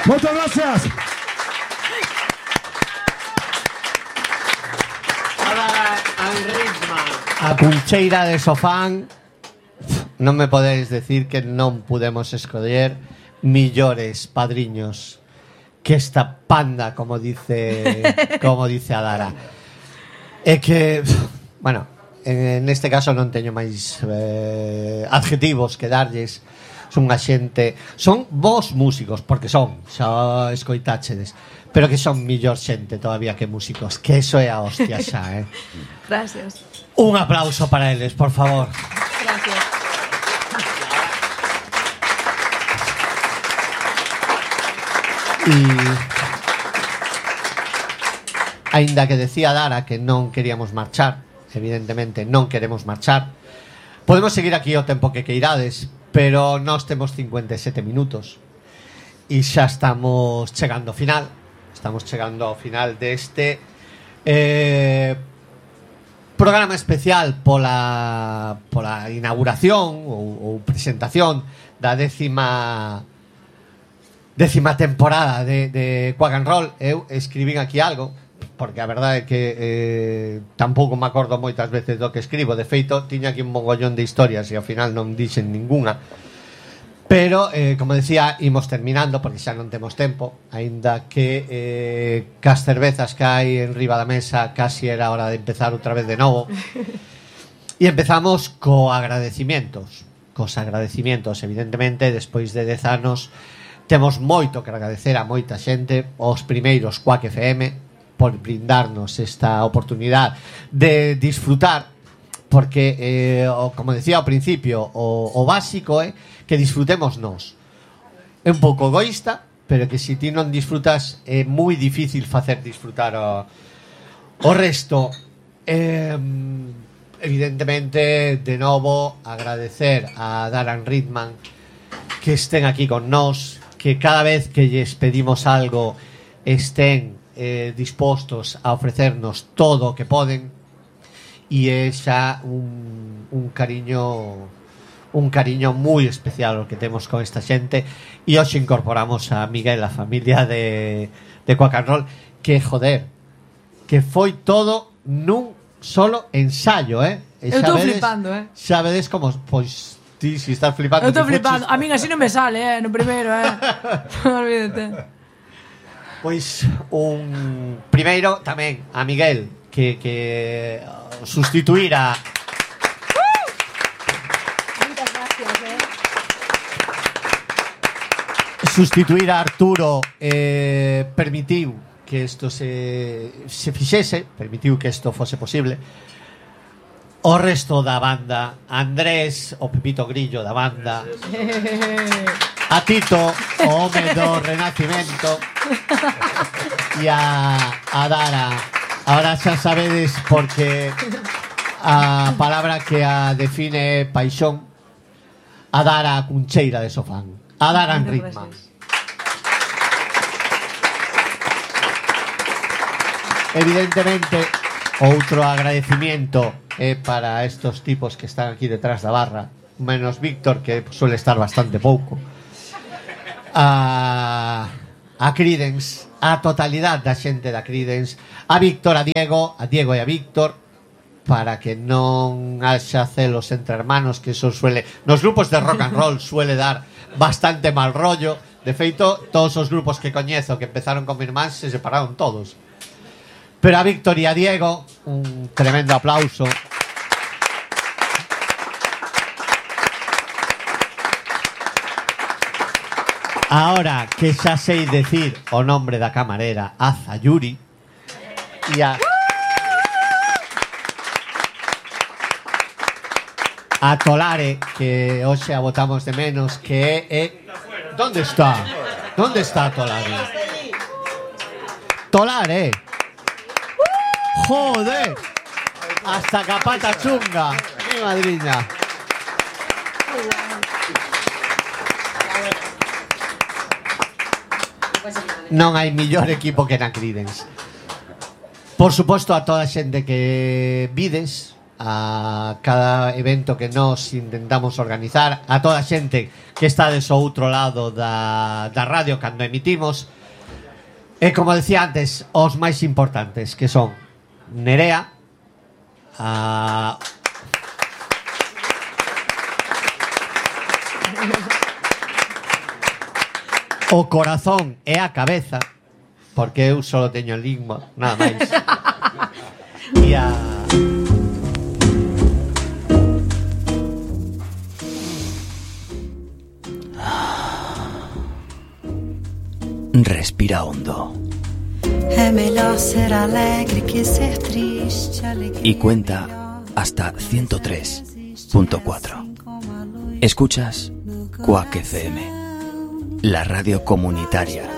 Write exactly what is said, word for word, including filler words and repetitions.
Moitas gracias. A Cuncheira de Sofán. Non me podedes decir que non pudemos escoller millores padriños que esta panda, como dice como dice Adara. É que, bueno, en este caso non teño máis eh, adjetivos que darlles. Son unha xente, son vos músicos, porque son, xa escoitáchedes, pero que son millor xente todavía que músicos, que eso é a hostia xa, eh. Gracias. Un aplauso para eles, por favor. Gracias. E aínda que decía Dara que non queríamos marchar, evidentemente non queremos marchar, podemos seguir aquí o tempo que queirades, pero nós temos cincuenta e sete minutos e xa estamos chegando ao final. Estamos chegando ao final deste eh, programa especial pola, pola inauguración ou, ou presentación da décima décima temporada de, de Quack and Roll. Eu escribín aquí algo, porque a verdade é que eh, tampouco me acordo moitas veces do que escribo. De feito, tiña aquí un mogollón de historias e ao final non dixen ninguna. Pero, eh, como decía, imos terminando porque xa non temos tempo, aínda que eh, cas cervezas que hai en riba da mesa casi era hora de empezar outra vez de novo. E empezamos co agradecimientos. Cos agradecimientos, evidentemente, despois de dez anos temos moito que agradecer a moita xente. Os primeiros Quack F M por brindarnos esta oportunidade de disfrutar, porque, eh, como decía ao principio, o, o básico é eh, que disfrutemos nós. É un pouco egoísta, pero que se ti non disfrutas é moi difícil facer disfrutar o, o resto. Eh, evidentemente, de novo, agradecer a Darren Ridman que estén aquí con nós, que cada vez que lles pedimos algo estén eh, dispostos a ofrecernos todo o que poden, e é xa un, un cariño un cariño moi especial o que temos con esta xente. E hoxe incorporamos a Miguel, a familia de, de Quack and Roll, que, joder, que foi todo nun solo ensayo, eh? E eu estou flipando, eh? Xa vedes como, pois, ti si estás flipando. Eu estou flipando, a min así non me sale, eh? No primeiro, eh? Non olvídate. Pois un primeiro tamén a Miguel, que, que sustituirá sustituir a Arturo, eh, permitiu que isto se, se fixese, permitiu que isto fose posible. O resto da banda, Andrés, o Pepito Grillo da banda, a Tito, o home do Renacimento, e a, a Dara. Ahora xa sabedes, porque a palabra que a define é paixón. A Dara Cuncheira de Sofán, a Darren Ridman. Evidentemente, outro agradecimiento é para estos tipos que están aquí detrás da barra, menos Víctor, que suele estar bastante pouco. A, a Creedence, a totalidade da xente da Creedence, a Víctor, a Diego, a Diego e a Víctor, para que non haxa celos entre hermanos, que eso suele, nos grupos de rock and roll suele dar bastante mal rollo. De feito, todos os grupos que coñezo que empezaron con mi irmán se separaron todos. Pero a Víctor e a Diego, un tremendo aplauso. Ahora que xa sei decir o nombre da camarera, a Zayuri, e a a Tolare, que hoxe a botamos de menos, que é... ¿Dónde está? ¿Dónde está Tolare? Tolare. Joder. Hasta capata chunga. Mi madriña. Non hai millor equipo que na Creedence. Por suposto, a toda a xente que vides, a cada evento que nos intentamos organizar, a toda a xente que está de so outro lado da, da radio cando emitimos, e como decía antes, os máis importantes, que son Nerea, a... o corazón e a cabeza, porque eu só teño lingua, nada máis. E a... Respira hondo. Y cuenta hasta ciento tres punto cuatro. Escuchas Quack F M, la radio comunitaria